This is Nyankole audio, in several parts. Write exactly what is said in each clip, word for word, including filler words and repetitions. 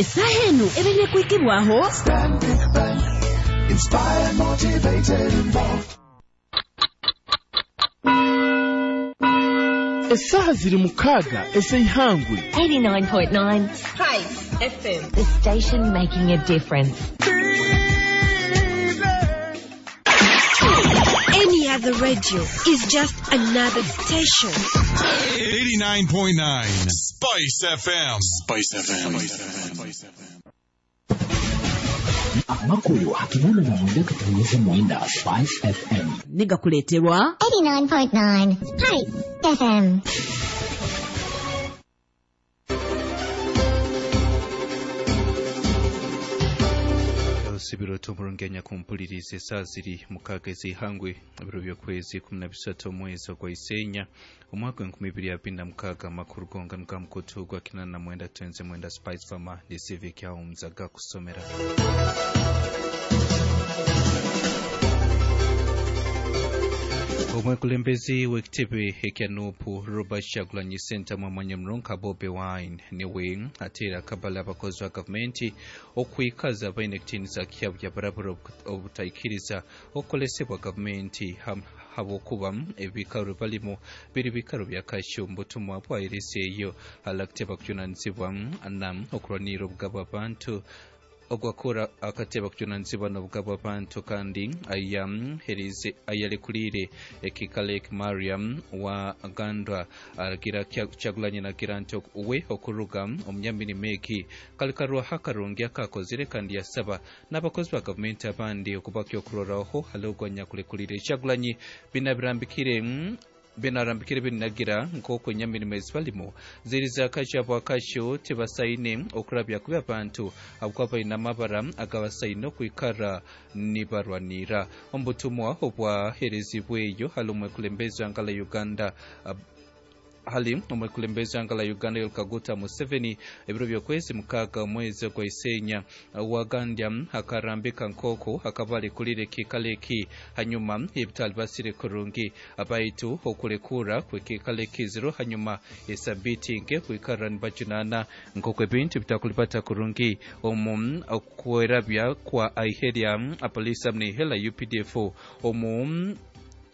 Essaaha eno ebeire kwikibwaho Stanbic Bank. Inspired, motivated, involved. Essaaha ziri mukaaga ez'eihangwe. eighty-nine point nine Spice F M. The station making a difference. Any other radio is just another station. eighty-nine point nine Spice F M. Spice F M. Spice F M. Amakuru akinana na mwenda katunyeze mwenda Spice F M. Nigakuleterwa eighty-nine point nine Spice F M. Sibiro tumurungenya kumpuliriza essaaha ziri mukaaga ez'eihangwe ebiro by'okwezi kumi na bisatu omwezi ogwa Isenya omwaka w'enkumi ibiri abiri na mukaaga. Amakuru gonga nga mukutu gwa kinana na mwenda twenze mwenda Spice Farmer ne Civic Homes agakusomera. Omwekulembeze w'ekitebe ekya Nuupu Robert Kyagulanyi Ssentamu amanya Murunka Bobi Wine niwe ateera akabala abakozi ba gavumenti okwikaza baine ekitiinisa kyabo bya barabara obutaikiriza okukolesebwa gavumenti habwokuba ebikaro balimu biri bikaro bya kasho omu butumwa bwahereseeyo alakuteba kujunaanizibwa na okulwanirira obugabo abantu ogwakora akateba kujunaanizibwa n'obugabo abantu kandi ayahereze ayalekulire ekikalek Mariam wa Gandwa aragira Kyagulanyi nagira nti we okuruga omunyamirimo egi kalikarwa hakarungi akakozire kandi yasaba n'abakozi ba gavumenti abandi okubakya okuroraho hali kulekulire Kyagulanyi binabirambikire binarambikire binagira nk'oku enyamirimo ezibalimu ziriza akajabo akasho tibasaine okurabya kubi abantu ahabwokuba baine amabara agabasaine okwikara nibarwanira. Omubutumwa obwaherezibweyo hali omwekulembeze w'engala Uganda hali omwekulembeze w'engala Uganda Yoweri Kaguta Museveni ebiro by'okwezi mukaaga omwezi ogwa Isenya wagandya akarambika nk'oku akaba alekulire ekiikaro eki hanyuma ebitali basire kurungi abaitu okulekura kw'ekiikaro ekiziro hanyuma esabiti nke kwikara nibajunaana nk'oku ebintu bitakulibata kurungi omu okwerabya kwa aiherya apolisi hamwe n'ihela U P D F omu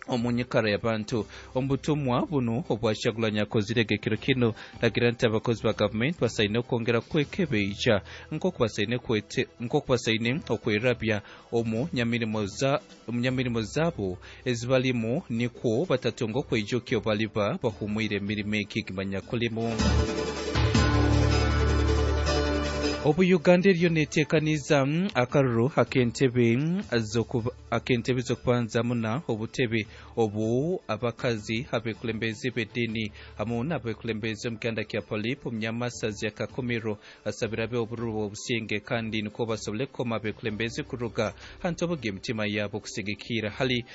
omunyikara y'abantu. Omubutumwa buno obwa Kyagulanyi akozire ekiro kino nagira nti abakozi ba gavumenti basaine okwongera kwekebeija nk'oku basaine kwete nk'oku basaine okwerabya omu nyamirimo za omu nyamirimo zaabo ezibalimu nikwo batatunga okweijukya baliba bahumwire emirimo egi gimanyakulimu. Obu Uganda eriyo neteekaniza akaruru ak'entebe ak'entebe z'okubanza muna obutebe obu abakazi abekulembeze b'eddiini hamwe n'abekulembeze omu kyanda kya Polip omunyamasazi ya Kakumiro asabira abe obururu obusinge kandi nikwo basobole kukoma abekulembeze kuruga hantu obuga emitima yaabo okusigikira hali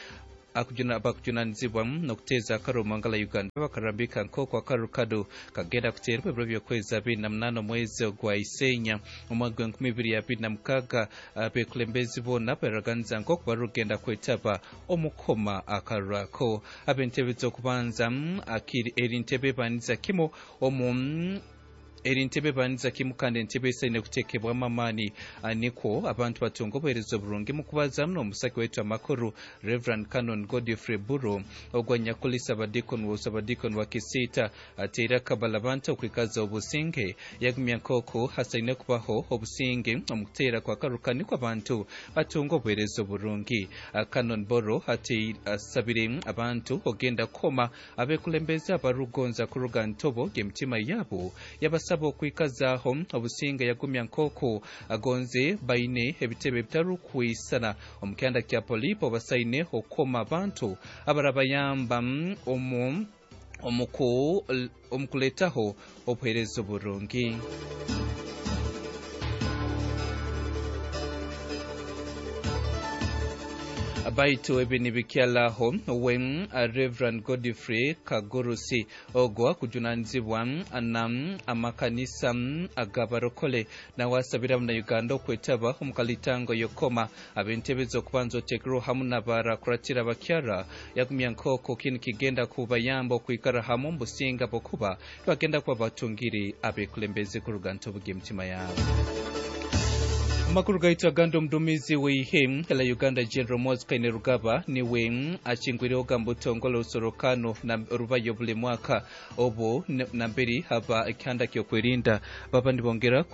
akujuna bakujunanizibwa n'okuteeza akaruru ngala Uganda bakarambika nk'oku akaruru kado kagenda kuteerwa ebiro by'okwezi abiri na munaana omwezi ogwa Isenya omwaka gw'enkumi ibiri abiri na mukaaga. Abekulembezi boona baraganiza nk'oku barugenda kwetaba omukoma akaruru ako. Ab'entebe z'okubanza eri ntebe ebaniza kimu omu eri ntebe baniza kimu kandi entebe esaine kuteekebwamu amaani nikwo abantu batunga obuheereza oburungi mu kubazamu n'omusaki waitu amakuru Reverend Canon Godfrey Buro ogwa Nyakuli Sabadikon wa Sabadikon wa Kisiita ateire akabala abantu okwikaza obusinge yagumya nk'oku hasaine kubaho obusinge omu kuteera kwa karuka nikwo abantu batunga obuheereza oburungi. Canon Buro asabire abantu ogenda kukoma abekulembeze abarugonza kuruga ntobo g'emitima yaabo yabasa okwikazaaho obusinga yagumya nk'oku agonze baine ebitebe bitarukwisana omu kyanda kya Polipo basaine okukoma abantu abarabayamba omu omukuleetaho obuheereza oburungi. Baitu ebi nibikyalaho we Reverend Godfrey Kagurusi ogwo kujunanizibwa na amakanisa agabarokole nawe asabira na Uganda okwetaba omukalitango yokoma ab'entebe z'okubanza oteekirwe hamu n'abarakuratira bakyara yagumya nk'oku kinu kigenda kubayamba okwikara hamu omubusinga bwokuba bagenda kuba batungire abekulembeze kuruga ntobuga emitima yaabo. Amakuru gaitu agandi, omudumizi w'ihe la Uganda General Muhoozi Kainerugaba niwe akingwireho gambutongole orusorokano na rubayo buli mwaka obu namberi haba ekihanda ky'okwerinda baba nibongera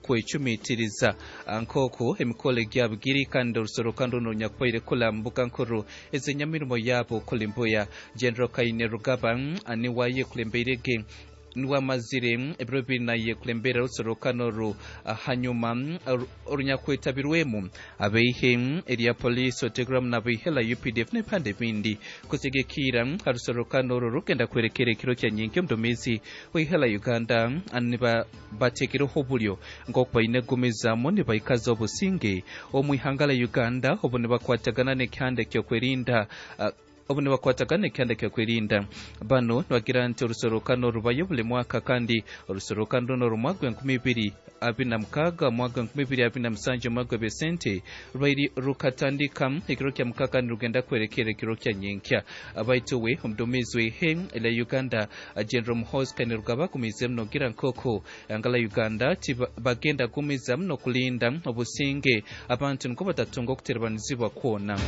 kwecumitiriza nk'oku emikolo gyabo giri, kandi orusorokano runo runyakubaire kula mbuga nkuru ez'enyamirimo yabo kulimbuya. General Kainerugaba niwe ayekulembeireege, niwamazire ebiro bibiri naye kulembera rusorokano ru hanyuma orunyakwetabirwemu abeihe erya polisi oteguramu n'abeihe la U P D F n'ebipande bindi. Kusigikira harusorokano oru rugenda kwerekera ekiro kya nyinki, omudumizi weihe la Uganda niba bateekereho oburyo nk'oku baine kugumizamu nibaikaza obusinge omu ihanga la Uganda, obu nibakwatagana n'ekihanda ekyokwerinda obu nibakwatagana ekihanda kyokwerinda. Bano nibagira nti orusorokano rubayo buli mwaka, kandi orusorokano runo rumwaka gwenkumi ibiri abiri na mukaaga, mwaka gwenkumi ibiri abiri na musanju, omwaka gw'ebyesente rwairi rukatandika ekiro kya mukaaga kandi rugenda kwerekera ekiro kya nyenkya. Baitu we omudumizi w'ihe la Uganda General Muhoozi Kainerugaba agumiizemu nogira nk'oku ihanga la Uganda bagenda kugumizamu n'okulinda obusinge, abantu niko batatunga okuterebanizibwa kwona.